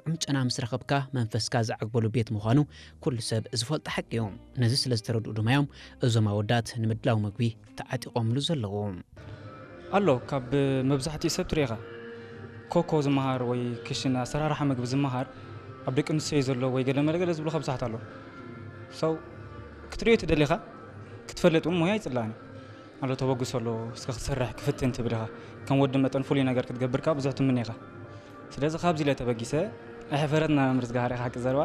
ጥዑም ጨና ምስ ረኸብካ መንፈስካ ዝዓግበሉ ቤት ምዃኑ ኩሉ ሰብ ዝፈልጦ ሓቂ እዩ። ነዚ ስለ ዝተረድኡ ድማ እዮም እዞም ኣወዳት ንምድላው ምግቢ ተዓጢቖምሉ ዘለዉ። ኣሎ፣ ካብ መብዛሕትኡ ሰብ ትሪኢኻ ኮኮ ዝመሃር ወይ ክሽን ኣሰራርሓ ምግቢ ዝመሃር ኣብ ደቂ ኣንስትዮ ዘሎ ወይ ገለ መለ ገለ ዝብሉኻ ብዙሓት ኣሎ። ሰው ክትሪኦ ትደሊኻ ክትፈልጥ እውን ሞያ ይጽላእን ኣሎ። ተበግሶ ኣሎ፣ እስከ ክትሰርሕ ክፍትን ትብል ኢኻ። ከም ወዲ መጠን ፍሉይ ነገር ክትገብር ከኣ ብዙሕ ትምነ ኢኻ። ስለዚ ካብዚ ኢለ ተበጊሰ ኣይሕፈረትና መምህር ዝገሃር ኢኻ። ሓቂ ዘረባ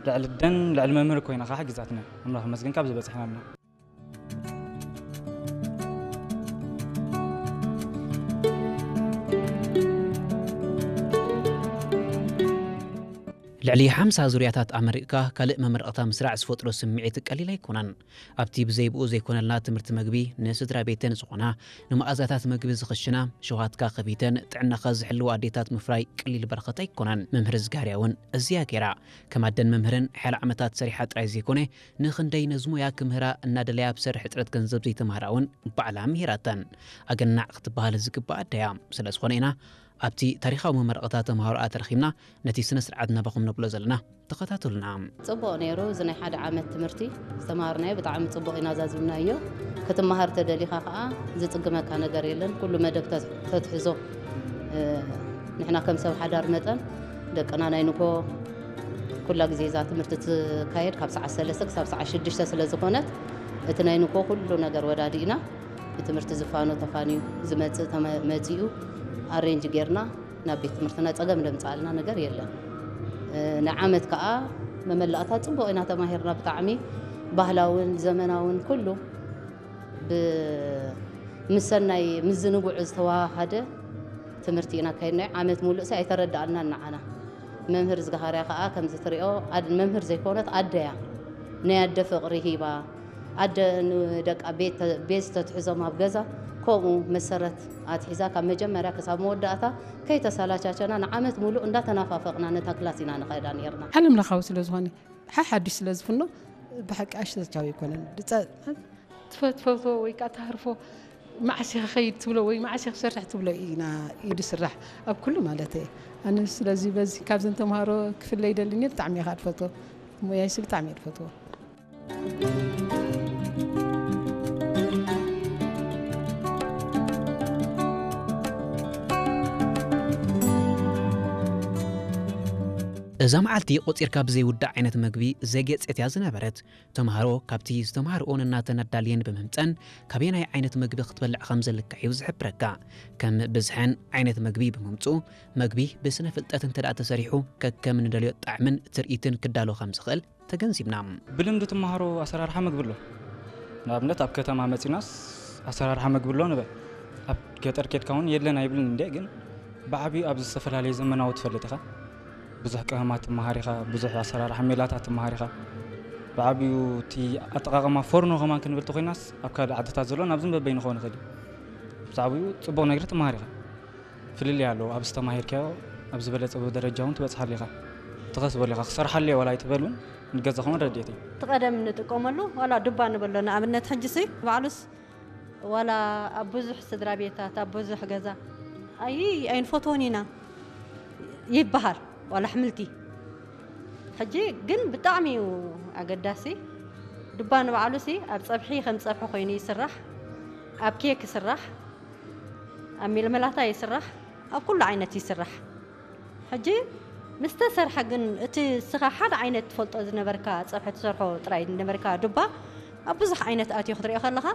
ልዕሊ ደን ልዕሊ መምህር ኮይና ኸዓ ሓጊዛትና። ኣምላኽ ይመስገን ካብዚ በጺሕናልና። ልዕሊ ሓምሳ ዙርያታት ኣመሪቕካ ካልእ መመረቕታ ምስራዕ ዝፈጥሮ ስምዒት ቀሊል ኣይኮነን። ኣብቲ ብዘይብኡ ዘይኮነልና ትምህርቲ መግቢ ንስድራ ቤተን ዝኾና ንመኣዛታት መግቢ ዝኽሽና ሸውሃትካ ከፊተን ጥዕናኻ ዝሕልዋ ኣዴታት ምፍራይ ቀሊል በረኸት ኣይኮነን። መምህር ዝጋርያ እውን እዚያ ገይራ ከም ኣደን መምህርን ሓያለ ዓመታት ሰሪሓ ጥራይ ዘይኮነ ንኽንደይ ነዚ ሞያ ክምህራ እናደለያ ብሰርሕ እጥረት ገንዘብ ዘይተማህራ እውን ባዕላ ምሂራተን። ኣገናዕ ክትበሃል ዝግባእ ኣደያ። ስለ ዝኾነ ኢና ኣብቲ ታሪኻዊ መመረቕታ ተምሃሮኣ ተረኺብና ነቲ ስነ ስርዓት ናባኹም ነብሎ ዘለና። ተኸታተሉና። ጽቡቕ ነይሩ። እዚ ናይ ሓደ ዓመት ትምህርቲ ዝተምሃርናዮ ብጣዕሚ ጽቡቕ ኢና ዛዚምናዮ። ክትመሃር ተደሊኻ ከኣ ዝጽግመካ ነገር የለን። ኩሉ መደብ ተ-፣ ተትሕዞ፣ እ፣ ንሕና ከም ሰብ ሓዳር መጠን ደቅና ናይ ንግሆ ኩላ ግዜ እዛ ትምህርቲ ትካየድ ካብ ሰዓት ሰለስተ ክሳብ ሰዓት ሽዱሽተ ስለ ዝኾነት እቲ ናይ ንግሆ ኩሉ ነገር ወዳዲእና ብትምህርቲ ዝፋኖ ተፋንዩ ዝመጽእ ተመ-፣ መጺኡ ኣሬንጅ ጌርና ናብ ቤት ትምህርትና ጸገም ዘምጽኣልና ነገር የለን። እ፣ ንዓመት ከኣ መመላእታ ጽቡቕ ኢና ተማሂርና። ብጣዕሚ ባህላውን ዘመናውን ኩሉ ብ-፣ ምስ ሰናይ ምዝንጉዕ ዝተዋሃሃደ ትምህርቲ ኢና ኣካይድናዮ። ዓመት ሙሉእ ሲ ኣይተረድኣልናን ንዓና። መምህር ዝገሃርያ ከኣ ከምዚ ትሪኦ ኣድ-፣ መምህር ዘይኮነት ኣደያ ናይ ኣደ ፍቕሪ ሂባ ኣደ ንደቃ ቤት ተ-፣ ቤዝ ተትሕዞም ኣብ ገዛ ከምኡ መሰረት ኣትሒዛ ካብ መጀመርያ ክሳብ መወዳእታ ከይተሰላቻቸና ንዓመት ሙሉእ እንዳተናፋፈቕና ነታ ክላስ ኢና ንኸዳ ነይርና። ዓለም ለኻዊ ስለ ዝኾነ ሓሓድሽ ስለ ዝፍኖ ብሓቂ ኣሽተቻዊ ኣይኮነን። ድጸ-፣ ትፈ-፣ ትፈትዎ ወይ ከዓ ተሃርፎ መዓስ ኢኻ ኸይድ ትብሎ ወይ መዓስ ኢኻ ክሰርሕ ትብሎ ኢና እዩ ዝስራሕ ኣብ ኩሉ ማለት እየ። ኣነ ስለዚ በዚ ካብዘን ተምሃሮ ክፍለይ ደልኒ ብጣዕሚ እየ ከዓ ዝፈትዎ። ሞያይሲ ብጣዕሚ እየ ዝፈትዎ። እዛ መዓልቲ ቆጺርካ ብዘይውዳእ ዓይነት መግቢ ዘጌጸት እያ ዝነበረት። ተምሃሮ ካብቲ ዝተምሃርኦ ነናተን ኣዳልየን ብምምጸን ካበየናይ ዓይነት መግቢ ክትበልዕ ከም ዘለካ እዩ ዝሕብረካ። ከም ብዝሐን ዓይነት መግቢ ብምምጽኡ፣ መግቢ ብስነ ፍልጠት እንተ ደኣ ተሰሪሑ ከከም ንደልዮ ጣዕምን ትርኢትን ክዳሎ ከም ዝኽእል ተገንዚብና። ብልምዲ ትመሃሮ ኣሰራርሓ መግቢ ኣሎ። ንኣብነት ኣብ ከተማ መጺናስ ኣሰራርሓ መግቢ ኣሎ ንበል። ኣብ ገጠር ኬድካ እውን የለን ኣይብልን እንደ፣ ግን ብዓብዩ ኣብዚ ዝተፈላለየ ዘመናዊ ትፈልጥ ኢኻ። ብዙሕ ቀመማት ትመሃር ኢኻ፣ ብዙሕ ኣሰራርሓ ሜላታት ትመሃር ኢኻ። ብዓብዩ እቲ ኣጠቓቕማ ፎርኖ ከማን ክንብል ተኾይናስ ኣብ ካልእ ዓድታት ዘሎ ናብዚ በበይኑ ክኸውን ይኽእል እዩ። ብዛዕባኡ ጽቡቕ ነገር ትመሃር ኢኻ። ፍልልይ ኣለዎ። ኣብዚ ተማሂርካዮ ኣብ ዝበለጸ ደረጃ እውን ትበጽሓሉ ኢኻ። ትኸስበሉ ኢኻ። ክሰርሓሉ እየ ዋላ ኣይትበል እውን ንገዛኹም ረድኤት እዩ። እቲ ቀደም ንጥቀመሉ ዋላ ዱባ ንበሎ ንኣብነት ሕጂሲ ባዕሉስ ዋላ ኣብ ብዙሕ ስድራ ቤታት ኣብ ብዙሕ ገዛ ኣይ ኣይንፈትዎን ኢና ይበሃል ዋላ ኣሕምልቲ። ሕጂ ግን ብጣዕሚ እዩ ኣገዳሲ። ዱባ ንባዕሉሲ ኣብ ጸብሒ ከም ጸብሒ ኮይኑ ይስራሕ፣ ኣብ ኬክ ይስራሕ፣ ኣብ ሜልመላታ ይስራሕ፣ ኣብ ኩሉ ዓይነት ይስራሕ። ሕጂ ምስ ተሰርሐ ግን እቲ እስኻ ሓደ ዓይነት ትፈልጦ ዝነበርካ ጸብሒ ትሰርሖ ጥራይ ዝነበርካ ዱባ ኣብ ብዙሕ ዓይነት ኣትዩ ክትሪኦ ከለኻ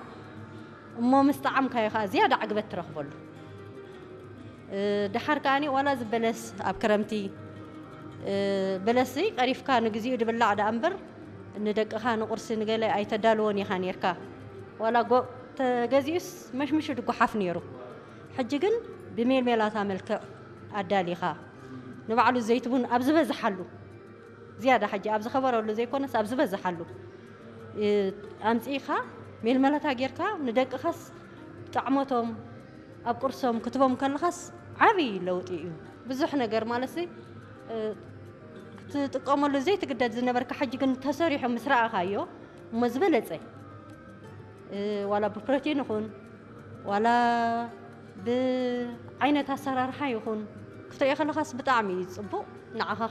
እሞ ምስ ጠዓምካዮ ኸኣ ዝያዳ ዕግበት ትረኽበሉ። እ፣ ደሓር ከኣኒ ዋላ እዚ በለስ ኣብ ክረምቲ፣ እ፣ በለስሲ ቀሪፍካ ንግዚኡ ድብላዕ ደኣ እምበር ንደቅኻ ንቁርሲ ንገለ ኣይተዳልዎን ኢኻ ኔርካ። ዋላ ጎ-፣ ተገዚኡስ መሽምሹ ድጓሓፍ ኔሩ። ሕጂ ግን ብሜልሜላታ መልክዕ ኣዳሊኻ ንባዕሉ ዘይትቡን ኣብ ዝበዝሓሉ ዝያዳ ሕጂ ኣብ ዝኸበረሉ ዘይኮነስ ኣብ ዝበዝሓሉ፣ እ፣ ኣምጺእኻ ሜልመለታ ጌርካ ንደቅኻስ ጣዕሞቶም ኣብ ቁርሶም ክትቦም ከለኻስ ዓብዪ ለውጢ እዩ። ብዙሕ ነገር ማለትሲ፣ እ፣ ክትጥቀመሉ ዘይትግደድ ዝነበርካ ሕጂ ግን ተሰሪሑ ምስ ረኣኻዮ እሞ ዝበለጸ፣ እ፣ ዋላ ብፕሮቲን ይኹን ዋላ ብዓይነት ኣሰራርሓ ይኹን ክትሪኦ ከለኻስ ብጣዕሚ እዩ ጽቡቕ። ንዓኻ